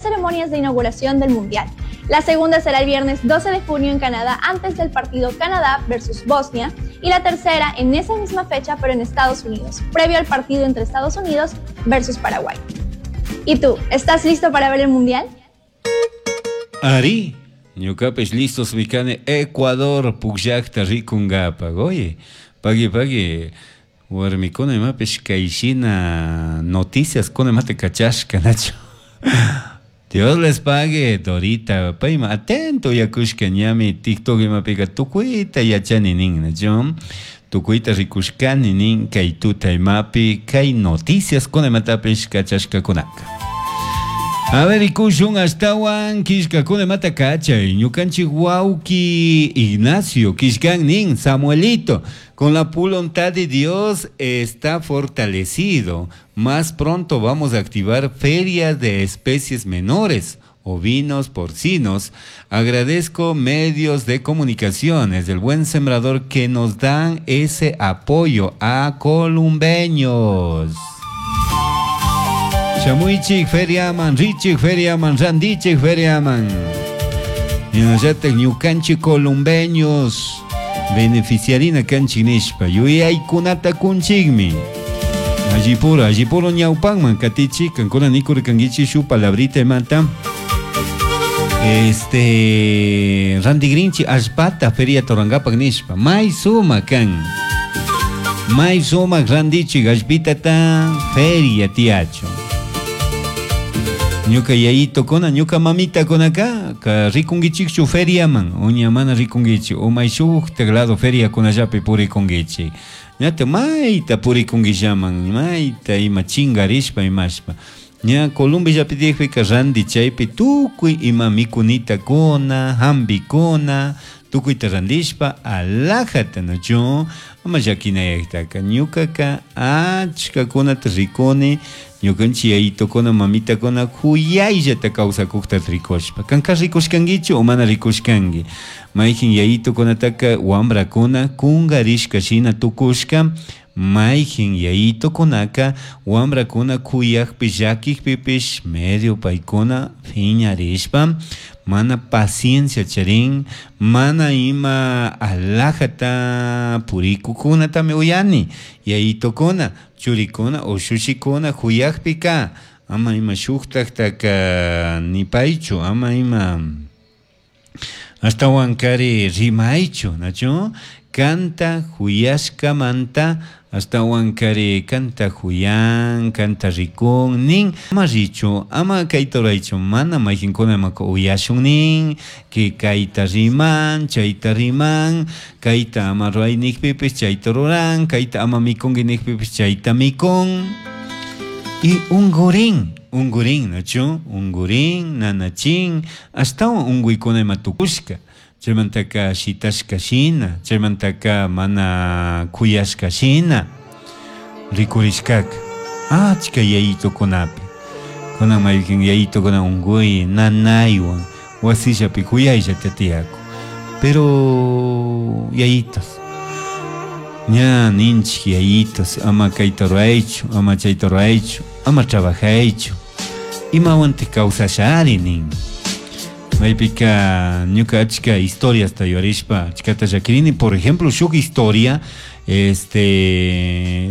Ceremonias de inauguración del Mundial. La segunda será el viernes 12 de junio en Canadá antes del partido Canadá versus Bosnia y la tercera en esa misma fecha pero en Estados Unidos, previo al partido entre Estados Unidos versus Paraguay. ¿Y tú, estás listo para ver el Mundial? Arí, ñukapish listos kani Ecuador pukllakta rikunkapak. Oye, pagui pagui, warmikuna imapish kayshina noticias kuna imata kachashka, nachu. Dios les pague, Dorita, payma atento yakushka ñami TikTok imapika tukuyta yachani nin, nachu. Tukuyta rikushkani nin kay tuta imapi kay noticias kuna imatapish kachashkakunaka. A ver, rikushun ashtawan killkakuna imata kachay. Ñukanchik wawki Ignacio killkan nin, Samuelito, con la voluntad de Dios está fortalecido. Más pronto vamos a activar ferias de especies menores, ovinos, porcinos. Agradezco medios de comunicaciones del Buen Sembrador que nos dan ese apoyo a columbeños. Shamuichik feriaman, richik feriaman, randichik feriaman. Shinallatak ñukanchik columbeños beneficiarina kanchik nishpa yuyaykunata kunchikmi. Allipuro, allipuro ñawpanman katichik, kankuna nikurkankichik shuk palabrita imata. Randigrinchi allpata feria torangapak nishpa, may sumak kan. May sumak randichik allpitata feria tiacho. Ñuka yayitokuna, ñuka mamitakuna ka rikunkichikchu feriaman, uña mana rikunkichik, o may shuktak lado feriakunallapi purikunkichik. Ñata mayta purikunkillaman, mayta ima chingarishpa imashpa. Ña Columbiallapi tiyakpika randi chaypi tukuy ima mikunitakuna, hambikuna, tukuyta randishpa alajata, nachu? Ama llakinayajtaka. Ñukaka achkakunata rikuni, ñukanchik yayitokuna, mamitakuna kuyayllata kawsakukta rikushpa. Kanka rikushkankichu o mana rikushkanki? Mayjin yayitokunataka wambrakuna kunkarishka shina tukushka, mayjin yayitokunaka wambrakuna kuyakpi llakikpipish medio paykuna phiñarishpa mana paciencia charin, mana ima alajata purikukunatami uyani. Yayitokuna, churikuna ushushikuna kuyakpika ama ima shuktaktaka nipaychu, ama ima ashtawankari rimaychu, nachu? Kanta huyashkamanta ashtawankari kanta huyan, kanta rikun nin, ama richu, ama kayta ruraychu, mana mayqinkuna imaka uyashun nin, que kayta riman, chayta riman, kayta ama ruray nikpipish chayta ruran, kayta ama mikunki nikpipish chayta mikun. Y ungurin, ungurin, nachu? Ungurin, nanachin, ashtawan unguykuna ima tukushka. Chaymantaka shitashka shina, chaymantaka mana kuyashka shina rikurishkaka achka yayitukunapi. Kunan mayqin yayitukuna unguy nanaywan wasillapi kuyayllata tiyakun. Pero yayitos, ña ninchik yayitos, ama kayta ruraychu, ama chayta ruraychu, ama trabajaychu, imawantik kawsashari nin. Maypika ñuka achka historiasta yuyarishpa achkata llakirini. Por ejemplo, shuk historia,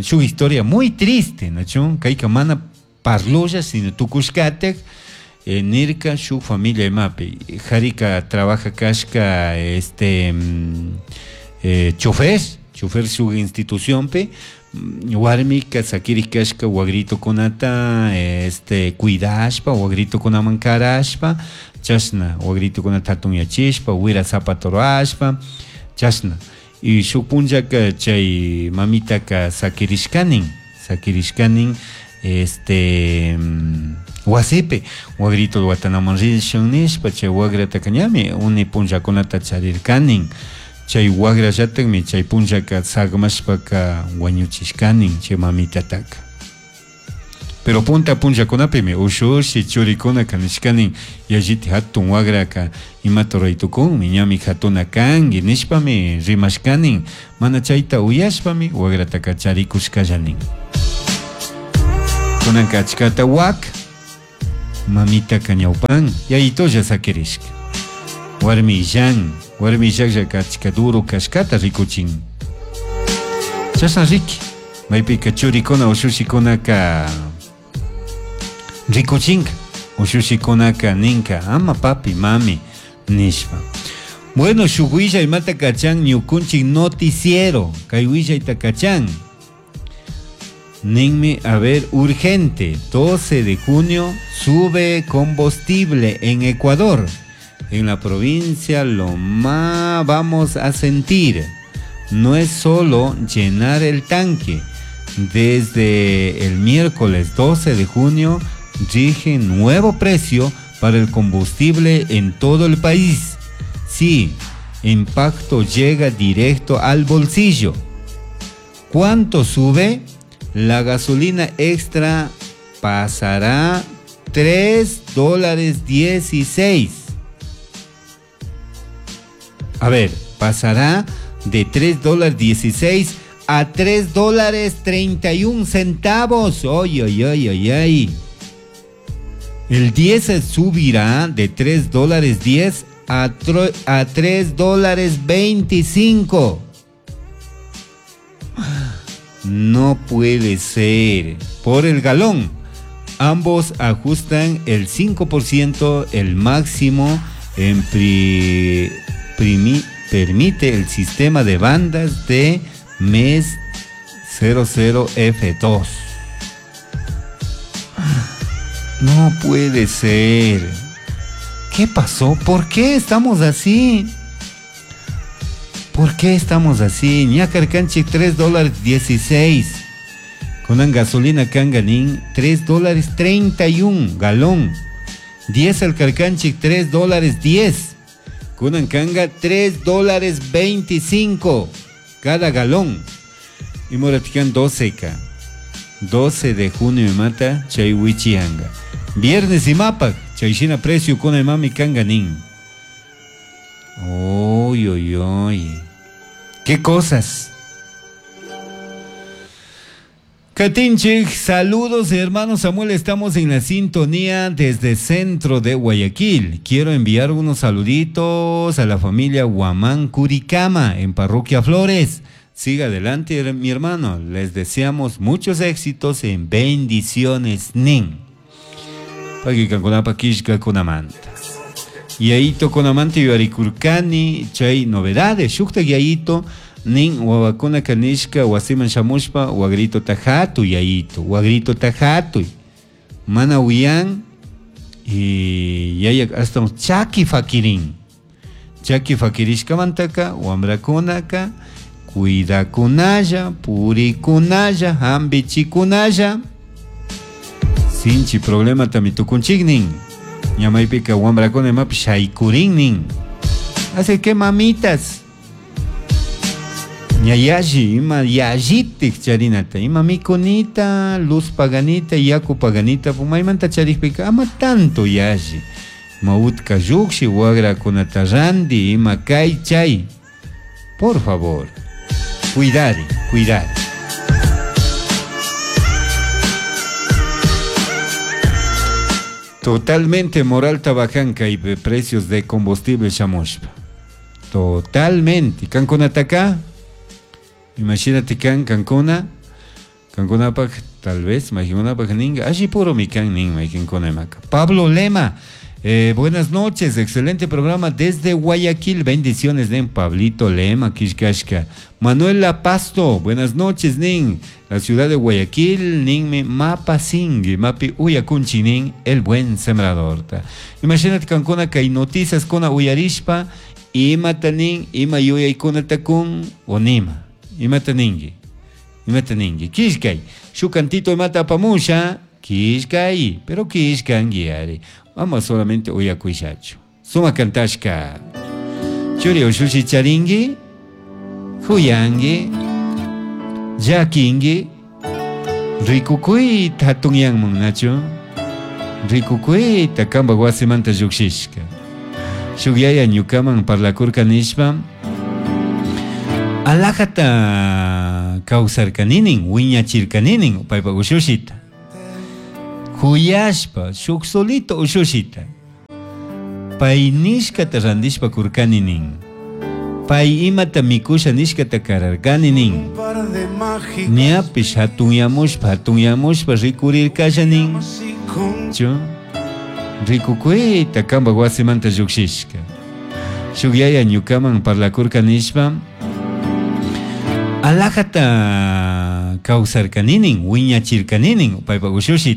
shuk historia muy triste, nachu? Kayka mana parlolla, sino tukushkatak, nirka shuk familia imapi. Jarika trabaja kashka, chofer, chofer shuk institucionpi, warmika sakirik kashka wagritokunata, cuidashpa, wagritokunaman karashpa, chashna wagritokunata hatunyachishpa, wira zapato ruwashpa, chashna. Y shuk punllaka chay mamitaka sakirishkanin, sakirishkanin, wasipi wagrito watanaman rishun nishpa, chay wagrataka ñami uni punllakunata charirkanin. Chay wagrallatakmi chay punllaka sagmashpaka wañuchishkanin chay mamitataka. Pero punta punllakunapimi ushushi churikunaka nishkanin yalliti hatun wagraka imata ruraytukunmi ñami hatuna kanki nishpami rimashkanin, mana chayta uyashpami wagrataka charikushkallanin. Kunanka achkata wak. Mamita ñawpan yayitolla sakirishka. Warmillan, warmillaklla kachka duro kashkata rikuchin. Chashna riki, maypika churikuna ushushikunaka rikuchinka, ushushikunaka ninka, ama papi, mami, nishpa. Bueno, shuk willay imata kachan ñukunchik noticiero, kay willayta kachan. Ninmi, a ver, urgente, 12 de junio sube combustible en Ecuador. En la provincia lo más vamos a sentir. No es solo llenar el tanque. Desde el miércoles 12 de junio rige nuevo precio para el combustible en todo el país. Sí, impacto llega directo al bolsillo. ¿Cuánto sube? La gasolina extra pasará $3.16. A ver, pasará de $3.16 a $3.31. ¡Ay, ay, ay, ay, ay! El diésel subirá de $3.10 a $3.25. No puede ser. Por el galón. Ambos ajustan el 5%, el máximo en permite el sistema de bandas de mes 00F2. No puede ser. ¿Qué pasó? ¿Por qué estamos así? ¿Por qué estamos así? Ñacarcanchi $3.16. Con gasolina canganín $3.31 galón. Diésel carcanchi $3.10. Con canga $3.25 cada galón. Y moratican 12K. 12 de junio me mata chaywichianga. Viernes y mapa, chayshina precio con el mami canganín. Uy, uy, uy. ¿Qué cosas? Katinchik, saludos hermano Samuel, estamos en la sintonía desde centro de Guayaquil. Quiero enviar unos saluditos a la familia Guamán Curicama en Parroquia Flores. Siga adelante mi hermano, les deseamos muchos éxitos en bendiciones nin. Yaito konamanta yuyarikurkani chay novedades, shukta yayito nin wawakuna kanishka wasiman shamushpa wagrito tajatuy yayito, wagrito tajatuy mana uyan y yaya hasta chaki fakirin, chaki fakirishkamantaka wamrakunaka cuidakunalla, purikunalla, hambichikunalla, sinchi problema tamitukunchiknin. Ñamaypika wamrakuna imapi shaykurinnin. Así que mamitas, ñayalli, ima yallitik charinata, ima mikunita, luz paganita, yaku paganita, maymanta charikpika ama tanto yalli. Ima utka lluqshi, wagrakunata randi, ima kay chay. Por favor, cuidare, cuidare. Totalmente moral tabajanca y precios de combustible shamushpa. Totalmente. Cancuna taka. Imagínate can Cancuna. Cancuna pak tal vez, imagina pak ninga. Allí puro mi can nin, imagina maka. Pablo Lema. Buenas noches, excelente programa desde Guayaquil. Bendiciones, nin. Pablito Lema, Kishkashka. Manuel Lapasto, buenas noches, nin. La ciudad de Guayaquil, nin me mapa singui, mapi uyakunchi, nin, el buen sembrador. Imagínate Cancuna que hay noticias con uyarishpa, ima tanin, ima yuyaykuna takun, onima. Ima taningi, ima taningi. Kishkay, shukantito imata pamusha, kishkay, pero kishkangi, vamos solamente uyakuishachu. Suma kantashka. Churi ushushi charingi, huyangi, yakingi, rikukuyta hatunyanman nachu, rikukuyta kamba wasimanta llukshishka. Shuk yaya ñukaman parlakurka nishpa, alajata kawsarkaninin, wiñachirkaninin, paypa ushushita. Juyashpa shuk solito ushushita. Pay nishkata randishpa kurkani nin. Pay imata mikusha nishkata kararkani nin. Un par de mágicas Ñapish hatunyamushpa hatunyamushpa rikurirkasha nin. llamas y con Chu rikukuyta kanpak wasimanta llukshishka. Shuk yaya ñukaman parlakurka nishpa alajata kawsarkani nin, wiñachirkani nin paypak ushushita.